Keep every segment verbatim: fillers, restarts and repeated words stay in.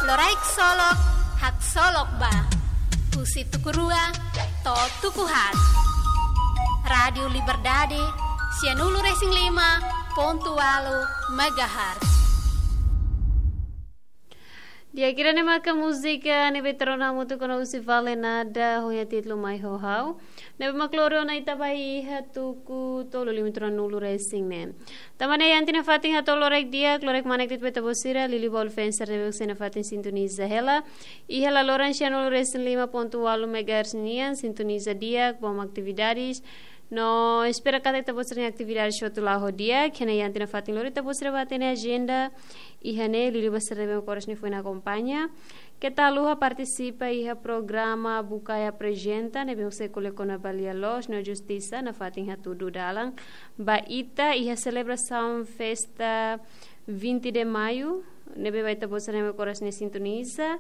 Loraik Solok, Haksolok Ba. Husi tuku rua to'o tuku haat. Rádiu Liberdade, sianulu-resin-lima pontu ualu megahertz. Di'ak, ida-ne'e maka múzika ne'ebé ita rona hamutuk ona husi Vale Nada, ho nia títulu Mai ho Ha'u. Ne'ebé mak lori ona ita ba iha tuku tolu limitron nulu resin ne'e. Tanba ne'e iha ita-nia fatin hato'o loraik di'ak, loraik kmanek de'it ba ita-boot sira, liuliu ba uluk fenser ne'ebé mak sei nafatin sintoniza hela. Iha laloran sianulu-resin-lima pontu ualu megahertz nian, sintoniza di'ak, bom atividades. No espera katak ita-boot sira-nia atividades hotu la'o ho di'ak, iha ne'e iha ita-nia fatin lori ita-boot sira ba hatene ajenda. Iha ne'e liuliu ba sira ne'ebé mak oras ne'e foin akompaña. Keta haluha partisipa iha programa Bukae Aprezenta, ne'ebé mak sei ko'alia kona-ba lia-loos no justisa, nafatin hatudu dalan ba ita iha selebrasaun festa vinte de Maio, ne'ebé ba ita-boot sira ne'ebé mak oras ne'e sintoniza,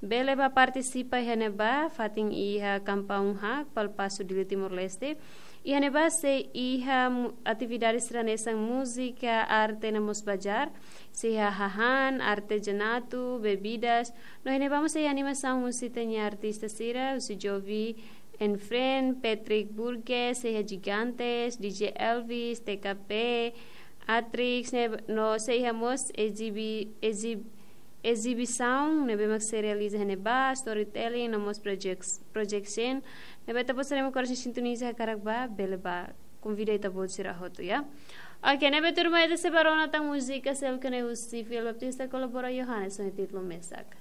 bele ba partisipa iha ne'ebá, fatin iha Kampaun Hak, Palpasu, Dili, Timor-Leste. Iha ne'ebá sei iha mu-, atividades sira hanesan múzika, arte no mós bazár, sei iha hahán, artezanatu, bebidas. No iha ne'ebá mós sei iha animasaun husi ita-nia artista sira, husi Jovi and Friend, Patrick Burgess, sei iha Gigantes, D J Elvis, T K P, Atrix, ne'e, no sei iha mós exibi-, exib-, exibisaun ne'ebé mak sei realiza iha ne'ebá, storytelling, no mós projects, projection. Ne'ebé ita-boot sira ne'ebé mak oras ne'e sintoniza hakarak ba, bele ba. Konvida ita-boot sira hotu, ya. Oke, ne'ebé tuirmai ita sei ba rona tan múzika seluk ne'e husi Fiel Baptista kolabora Yohanes ho nia títulu mesak.